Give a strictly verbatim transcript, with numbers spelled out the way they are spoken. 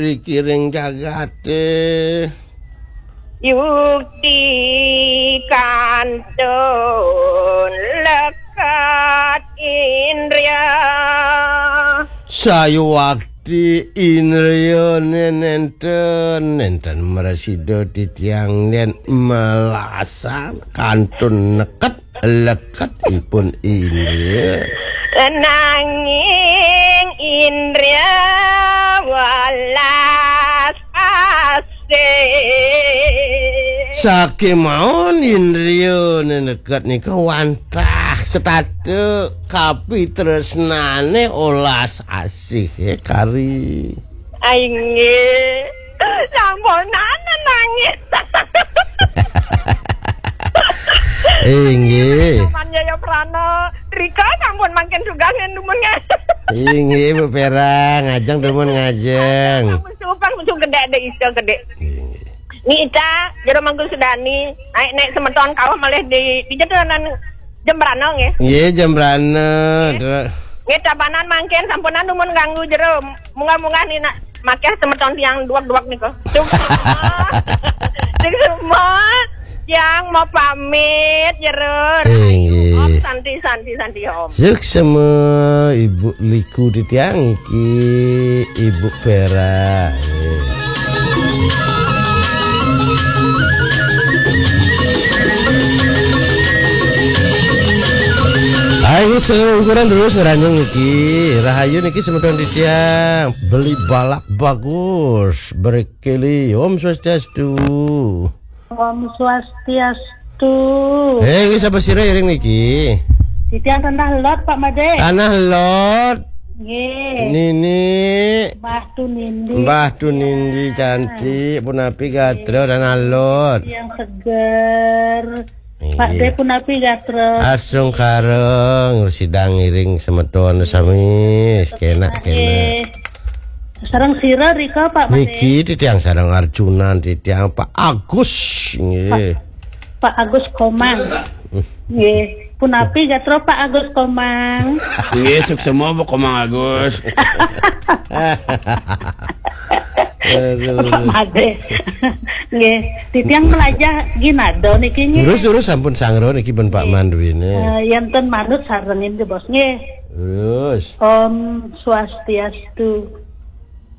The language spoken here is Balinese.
Rikiring jagate. Yukti kantun lekat indria. Sayuwakti indriane nenten, nenten mresida titiang yen melasan kantun neket leketipun indria. Nanging indria welas asih. Saking mawon indria neneket nika wantah setata kapitresnane olas asih ya kari. Inggih. Sampunan nangis. Inggih. Sampunan Jaya Prana. Rika sampun mangkin sugan yen dumun nggih. Inggih, Bu Perang, ngajeng dumun ngajeng. Sampun supan, supan gedhe, ada iso gedhe. Inggih. Nita, jero mangku sudani, naik-naik semeton kawah malih di, di jedanan Jembrana nggih. Nggih, Jembrana. Nggih. Dra- Nggih, tabanan mangkin sampunan dumun ganggu jero. Munggah-munggah ni nak makeh semeton tiang duak-duak nika. Sing semua tiang mau pamit jero. Inggih. Om santi, santi, santi, Om. Suksema Ibu Liku titiang iki, Ibu Vera. Nggih. Ayo, selungkuran terus ngeranjung niki. Rahayu niki semeton titiang. Beli balak bagus, berkeli. Om Swastiastu. Om Swastiastu. Eh, nggih sapa sira iring niki? Titiang Tanah Lot, Pak Made. Tanah Lot. Nggih. Nini. Mbah Tunindi. Mbah Tunindi cantik, punapi gatra Tanah Lot. Yang seger. Pak Iya. De punapi gatra. Asung kareng, sidang ngiring semeton sami, kenak-kenak. Eh, sareng sira rika, Pak Made. Niki titiang sareng Arjunan, titiang Pak Agus. Nggih. Pak Agus Komang. Nggih. Punapi gatra Pak Agus Komang. Nggih, suksema Bu Komang Agus. Aduh. Pak Made. Nggih, titiang melajah ginado niki nggih. Terus, terus sampun sangro niki ben Pak Mandwine. Eh, yen ten manut sarengin nggih, Bos, nggih. Terus. Om Swastiastu.